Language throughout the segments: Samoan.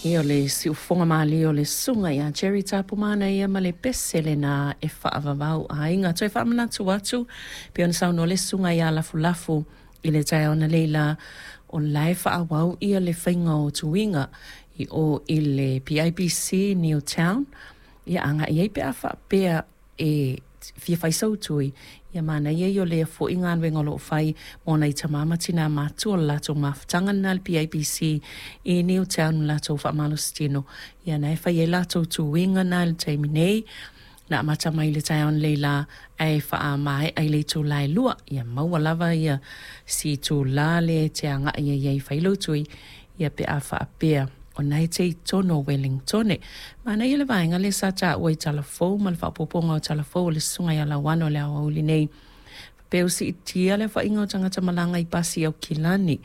Ia o le siufofoga malie o le susuga ia Jerry Tapumana ia ma le pese lena e faavavau aiga. Toe faamanatu atu pei ona saunoa le susuga ia Lafulafu i le taeao analeila, o la e faaauau ia le faiga o tuiga i o i le PIBC Newtown. Ia agai i ai pe a faapea e fia fai sau tui, ia manaia ia o lea foi galuega o lo o fai mo nai tamā ma tinā matutua o le latou mafutaga lena a le PIBC i Newtown le latou faamalositino. Ia na e fai ai latou tuiga na i le taimi nei, na amata mai i le taeao analeila ae faamaea i le itula e 2. Ia maua lava ia si itula lea e te agai ai e fai lou tui, ia pe a faapea o na e te i totonu o Wellingtone. Manaia le vaega lea sa taua i Talafou ma le faaopoopoga o Talafou o le susuga ia Lauano i le aoauli nei. Faapea ua siitia le aofaiga o tagata malaga i pasi i Aukilani.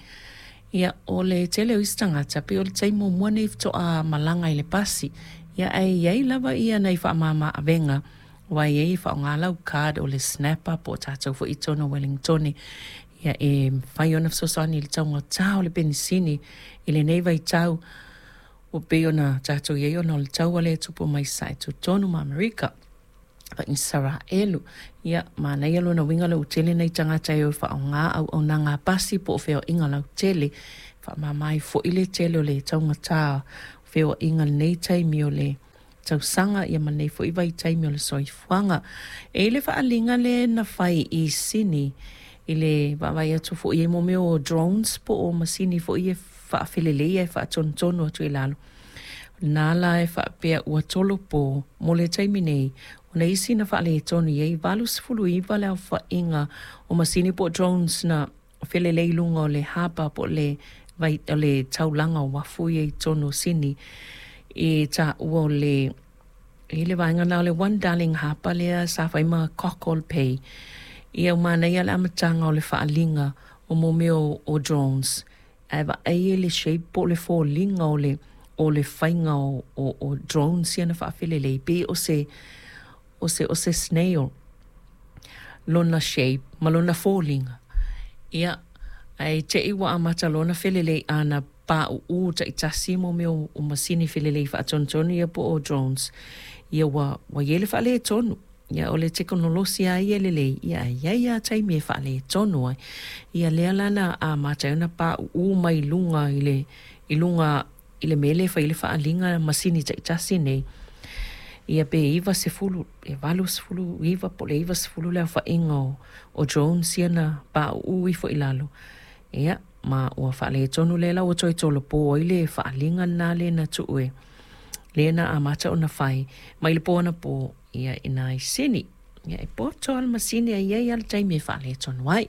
Ia, o le tele o isi tagata, pei o le taimi muamua lenei faatoa malaga i le pasi. Ia, ae i ai lava ia nai faamama avega, aua e i ai e faaaoga lau card o le Snapper po o tatou foi i totonu o Wellingtone. Ia, e mafai ona fesoasoani i le taugata o le penisini i lenei vaitau ua pei ona tatou i ai ona o le taua lea e tupu mai sae totonu ma Amerika ma Isaraelu. Ia, manaia lona uiga lea ua tele nai tagata e o e faaaoga auaunaga a pasi po o feoaiga lautele. Faamama ai foi le tele o le taugata o feoaiga i lenei taimi o le tausaga ia ma lenei foi vaitaimi o le soifuaga. E i ai le faaaliga lea na fai i Sini i le vaavaai atu foi i ai mo mea o drones po o masini foi ia e faafelelei ae faatonutonu atu i lalo. Na la e faapea ua tolopo mo le taimi nei, o isi na faaletonu i ai 89 le aofaiga o masini po o drones na felelei i luga o le harbour po o le, vai, o le taulaga o uafu ia i totonu o Sini i taua o le i le vaega lena o le One Darling Harbour lea sa fai ma Cockle Bay. Ia ua manaia le amataga o le faaaliga o mo mea o drones ae vaai i le shape po o le foliga o le faiga o drones ia na faafelelei pei o se o se snail lona shape ma lona foliga. Ia, ae te i ua amata loa ona felelei ana pauu taitasi mo mea o masini felelei faatonutonu ia po o drones, ia ua i ai le faaletonu. Ia o le tekonolosi lava ia e lelei, ia ae i ai lava taimi e faaletonu ai. Ia lea la na amata ai ona pauu mai luga i le i luga i le mea lea e fai ai le faaaliga masini taitasi nei, ia pe 90, e 89 po o le 90 le aofaiga o drones ia na pauu ifo i lalo. Ia, ma ua faaletonu lea la ua toe tolopo ai le faaaliga lena lea na tuu e lea na amata ona fai mai le po anapo ia i nai Sini. Ia e poto lava le masini ae i ai lava le taimi e faaletonu ai.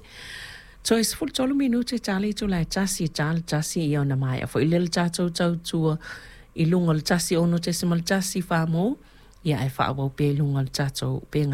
Toe 13 minute ta le itula e 1 e ta le 1 ia ona maea foi lea le tatou tautua i luga o le 106.1 Farmall, ia ae faaauau pea i luga o le tatou upega.